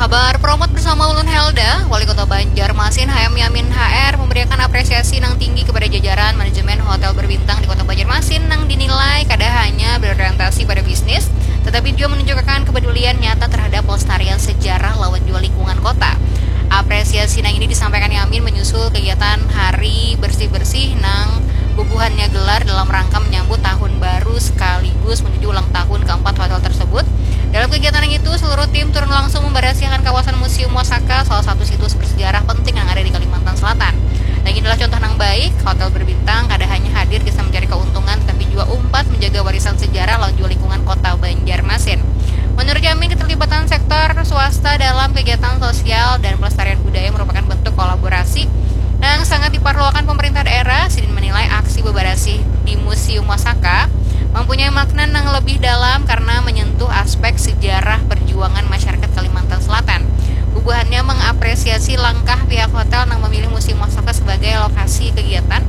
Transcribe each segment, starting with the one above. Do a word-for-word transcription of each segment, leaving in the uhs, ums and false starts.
Berpromot bersama Ulun Helda, Wali Kota Banjarmasin, H M Yamin H R memberikan apresiasi nang tinggi kepada jajaran manajemen hotel berbintang di Kota Banjarmasin nang dinilai kada hanya berorientasi pada bisnis, tetapi juga menunjukkan kepedulian nyata terhadap pelestarian sejarah lawan juga lingkungan kota. Apresiasi nang ini disampaikan Yamin menyusul kegiatan hari bersih-bersih nang bubuhannya gelar dalam rangka menyambut tahun baru sekaligus menuju ulang tahun keempat hotel tersebut. Dalam kegiatan yang itu, seluruh tim turun langsung membersihan kawasan Museum Wasaka, salah satu situs bersejarah penting yang ada di Kalimantan Selatan. Dan inilah contoh yang baik, hotel berbintang kada hanya hadir kisah mencari keuntungan, tetapi juga umpat menjaga warisan sejarah lawan juga lingkungan kota Banjarmasin. Menurut Yamin, keterlibatan sektor swasta dalam kegiatan sosial dan pelestarian budaya merupakan bentuk kolaborasi yang sangat diperlukan pemerintah daerah. Sidin menilai aksi bebarasih di Museum Wasaka mempunyai makna yang lebih dalam karena menyentuh aspek sejarah perjuangan masyarakat Kalimantan Selatan. Bubuhannya mengapresiasi langkah pihak hotel yang memilih Museum Wasaka sebagai lokasi kegiatan.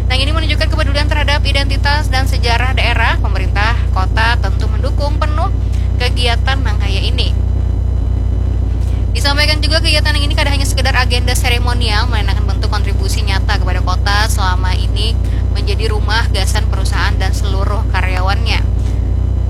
Yang ini menunjukkan kepedulian terhadap identitas dan sejarah daerah. Pemerintah kota tentu mendukung penuh kegiatan yang kaya ini. Disampaikan juga, kegiatan yang ini kada hanya sekedar agenda seremonial, melainkan bentuk kontribusi nyata kepada kota selama ini menjadi rumah gasan perusahaan dan seluruh karyawannya.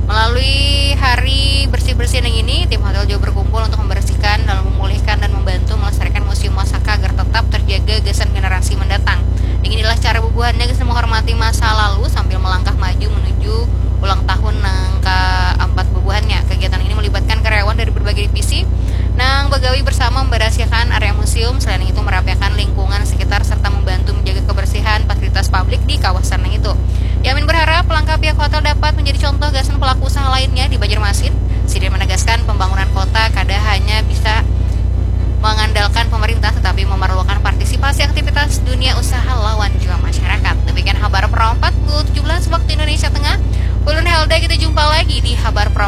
Melalui hari bersih-bersih yang ini, tim hotel juga berkumpul untuk membersihkan dan memulihkan dan membantu melestarikan Museum Wasaka agar tetap terjaga gasan generasi mendatang. Yang inilah cara bubuhannya gasan menghormati masa lalu sambil melangkah maju menuju ulang tahun nang keempat bubuhannya. Kegiatan ini melibatkan karyawan dari berbagai divisi nang begawi bersama membersiakan area museum, selain itu merapiakan lingkungan sekitar serta membantu menjaga kebersihan fasilitas publik di kawasan yang itu. Yamin berharap langkah pihak hotel dapat menjadi contoh gasan pelaku usaha lainnya di Banjarmasin. Sidin menegaskan pembangunan kota kada hanya bisa mengandalkan pemerintah tetapi memerlukan partisipasi aktivitas dunia usaha lawan juga masyarakat. Demikian Habar Pro empat pukul tujuh belas waktu Indonesia Tengah. Ulun Helda, kita jumpa lagi di Habar Pro